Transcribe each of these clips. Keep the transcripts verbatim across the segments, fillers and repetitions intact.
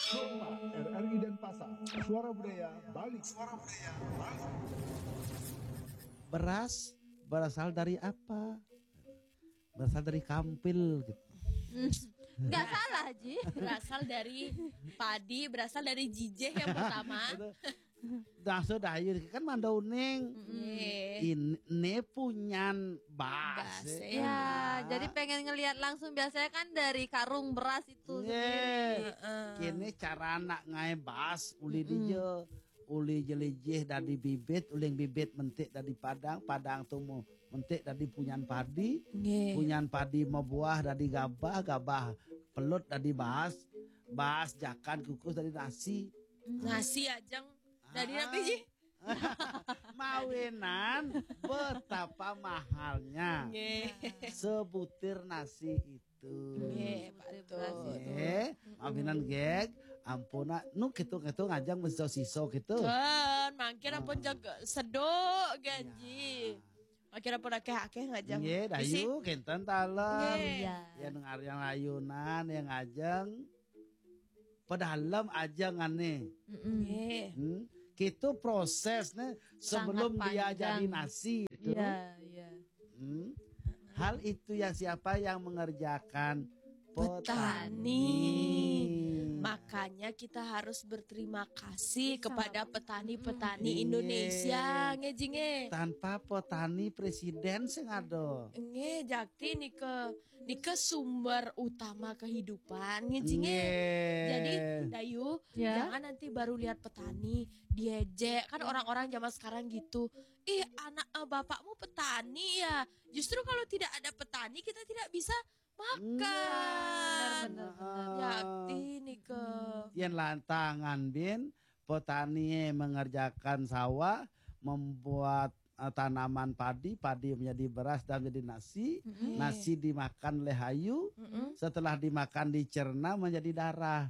Kompas, R R I Denpasar, Suara Budaya Bali. Suara Budaya Bali. Beras berasal dari apa? Berasal dari kampil gitu. Nggak salah, Ji. Berasal dari padi, berasal dari jijih yang pertama. Nah, sudah, ayo kan mandau ning. Nih. Ini punyan bas. Bas, Ya. Ya, jadi pengen ngelihat langsung, biasanya kan dari karung beras itu Nggih. sendiri. Kene cara anak ngae bas, uli dia, uli jelijih dari bibit, uling bibit mentik dari padang, padang tuh mau mentik dari punyan padi, Nggih. punyan padi mau buah dari gabah, gabah pelut dari bas, bas jakan kukus dari nasi. Nasi ajeng. Dari napi, Ji? Mawinan betapa mahalnya Nggih. sebutir nasi itu. Nggih, betul. Eh, mawinan geg, ampuna nu kitu-kitu ngajeng mesti siso gitu. Kan, mangkir ampun jag seduk ganji. Mangkir ampun akeh-akeh ngajeng. Nggih, Isi. dayu kinten talem. Nggih. Iya. Yang ngarian ayunan yang ngajeng pedalem ajeng ane. Nggih. Hmm? Kitu proses nih sebelum Sangat dia panjang. Jadi nasi itu. Iya, iya. Hmm? Hal itu yang siapa yang mengerjakan? Petani. Makanya kita harus berterima kasih kepada petani-petani Iya. Indonesia, nggih, Ji, nggih. Tanpa petani presiden sing ada. Nggih, jakti nika nika sumber utama kehidupan, nggih, Ji, nggih. Nggih. Jadi, Dayu, Ya. jangan nanti baru lihat petani diejek. Kan orang-orang zaman sekarang gitu. Ih, anak eh, bapakmu petani ya. Justru kalau tidak ada petani, kita tidak bisa makan. Benar, benar, benar. Jakti nika. Yang lantangan bin petani mengerjakan sawah, membuat eh, tanaman padi, padi menjadi beras dan menjadi nasi, nasi dimakan oleh ayu, setelah dimakan dicerna menjadi darah.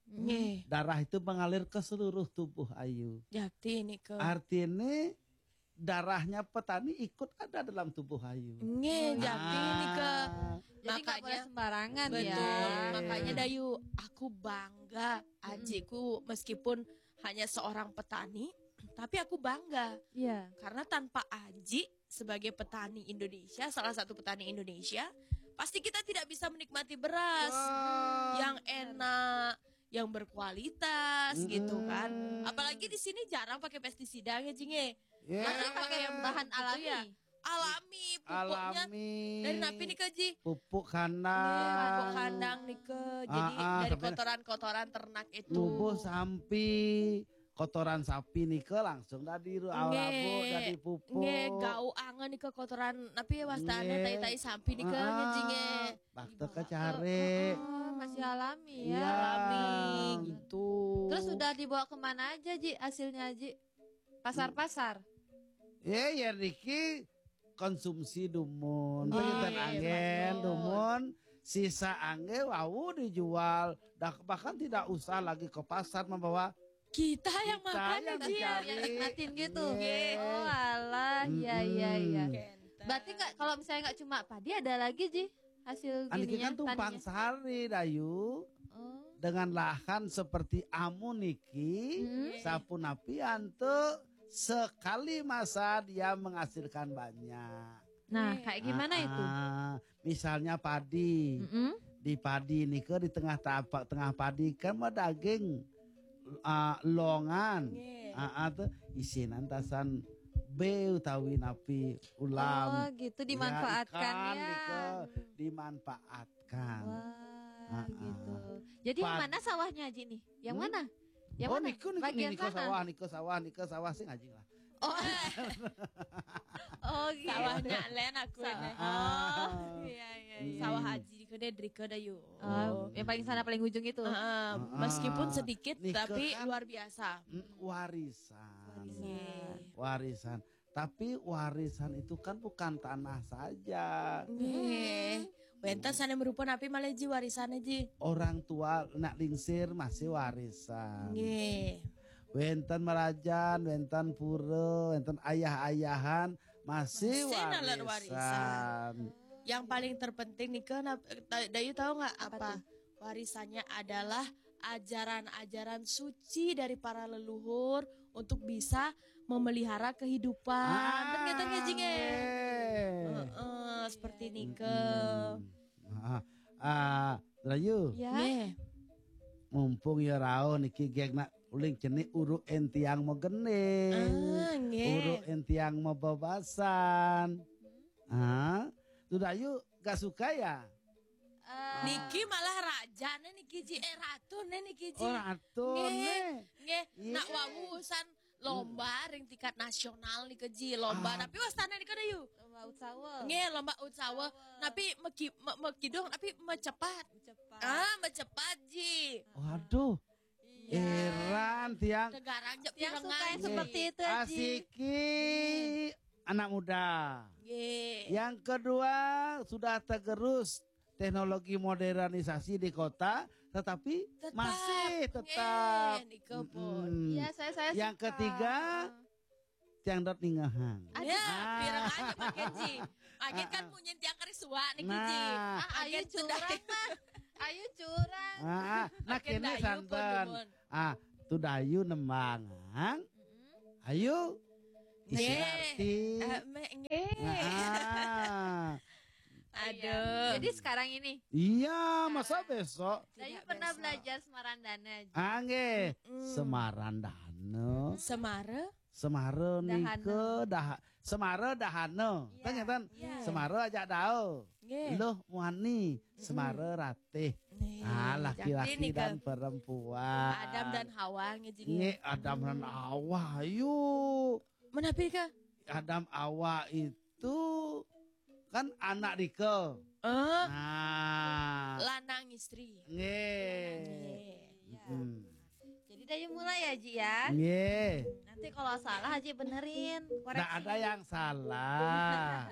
Nggih. Darah itu mengalir ke seluruh tubuh ayu. Jakti nika. Artinya darahnya petani ikut ada dalam tubuh ayu. Nggih, jakti nika. Ah. Jadi nggak boleh sembarangan Betul. ya. Makanya Dayu, aku bangga ajiku meskipun hanya seorang petani, tapi aku bangga Iya. karena tanpa aji sebagai petani Indonesia, salah satu petani Indonesia, pasti kita tidak bisa menikmati beras yang enak, yang berkualitas gitu kan. Apalagi di sini jarang pakai pestisida ya, Ji, nggih. Ya. Masih pakai bahan gitu alami. Ya. Alami, pupuknya Alami. Dari napi nih, Ji? Pupuk kandang. Pupuk kandang nih, Ji. Jadi Ah, ah, dari sampai- kotoran-kotoran ternak itu. Nubuh sampi, kotoran sapi nika langsung dari ru- Nggih. Labu, dari pupuk. Nggih, gau angen nih kotoran, tapi wastane Nggih. tai-tai sampi nih, Ah, Ji, nggih. Bakte kecare. Oh, masih alami ya. Iya. Alami gitu. Terus udah dibawa kemana aja, Ji, hasilnya, Ji? Pasar-pasar. Ya, ya niki konsumsi dumun. Nggih, Penginten anggen betul. Dumun, sisa angge wau dijual. Dah bahkan tidak usah lagi ke pasar membawa Kita yang Kita makan yang nih, Ji. mencari. Yang nikmatin gitu. Nggih. Oh, alah, iya, iya, iya. Mm-mm. Kenten. Berarti nggak, kalau misalnya nggak cuma padi, ada lagi, Ji, hasil Aniki gininya, kan tumpang taninya? Sari, Dayu. Oh. Dengan lahan seperti amu niki, Hmm. sapunapi antu sekali masa dia menghasilkan banyak. Nah, kayak gimana itu? Ah, misalnya padi. Mm-mm. Di padi nika di tengah tapak tengah padi kan mah daging ah, longan. Nggih. Ah, ah, tuh isinan tasan be utawi napi ulam. Oh, gitu, dimanfaatkan ikan ya. Nika dimanfaatkan. Wah, Ah, gitu. ah. Jadi yang Pad- mana sawahnya, Ji, nih? Yang Hmm? mana? Yang Oh, mana? niku niku Bagian niku mana? Sawah, niku sawah, niku sawah sing ajing lah. Oh, gitu. Sawahnya Len aku ini. Ah. Iya, iya, iya. Sawah Aji di kedai dari kedai yuk. Oh, yang paling sana, paling ujung itu. Ah, meskipun Ah, sedikit nika tapi kan- luar biasa. Mm, warisan. Nggih. Warisan. Tapi warisan itu kan bukan tanah saja. Nggih. Wenten sana merupa napi malah, Ji, warisannya, Ji. Orang tua nak lingsir masih warisan. Nggih. Wenten merajan, wenten pura, wenten ayah-ayahan masih Masih nalar warisan. Yang paling terpenting nih kan, Dayu tahu nggak apa? Apa Warisannya adalah ajaran-ajaran suci dari para leluhur untuk bisa memelihara kehidupan. Kan ngeten nggih, Ji, nggih? Nggih. Heeh, seperti nika. Ah, ah, Rayu, Ya. Nggih. Mumpung ya rauh niki gek nak uling cenik uruk entiang mau gending. Ah, nggih. Uruk entiang mau bebasan. Ah, tuh Dayu gak suka ya? Eh, Niki malah rajane niki, Ji, eh, ratune niki, Ji. Oh, ratu Nggih, nih. nggih. Iya. Nak wau urusan lomba ring tingkat nasional nika, Ji, lomba. Ah. Tapi wastane nika, Dayu. Lomba Utsawa. Nggih, lomba Utsawa. Tapi meki, me, mekidung tapi mecepat. Cepat. Ah, mecepat, Ji. Waduh, Iya. Heran tiang. Tegarang jek Tiang suka pirengan, yang Ji. seperti itu, Ji. Asiki anak muda. Nggih. Yang kedua, sudah tergerus teknologi modernisasi di kota, tetapi Tetap. masih Nggih, tetap. nika pun. Mm-mm. Iya, saya saya Yang suka. Ketiga, tiang dot ningehang. Ya, Ah. pirengan jek makin, Ji. Makin kan munyin tiang keris suak niki, Ji. Nah. Ah, ayu Makin curang sedih. Mah. Ayu curang. Ah, ah, nah Makin kene Dayu santen. pun, Dumun. Ah, tuh Dayu nembangang. Ayu. Nggih. Isi arti. Eh, me, nggih. Nah, Aduh. Jadi sekarang ini iya, masa besok? Dayu Tidak pernah besok. Belajar Semarandana, Ji. Angge, Mm. Semarandana. Semara? Semara Dahana. nika dah Semara dahana. Iya, Kan ngeten? iya. Semara ajak dao. Nggih. Loh muani, Semara ratih. Nih, Ah, jadi laki-laki nika dan perempuan. Adam dan Hawa nggih, Ji. Nggih, Adam dan Hawa. Ayo. Menapi kah? Adam Hawa itu kan anak Rika. Eh, Nah. Lanang istri. Nggih. Nggih. Iya. Hmm. Jadi Dayu mulai ya, Ji ya. Nggih. Nanti kalau salah Haji benerin. Nggak ada yang salah.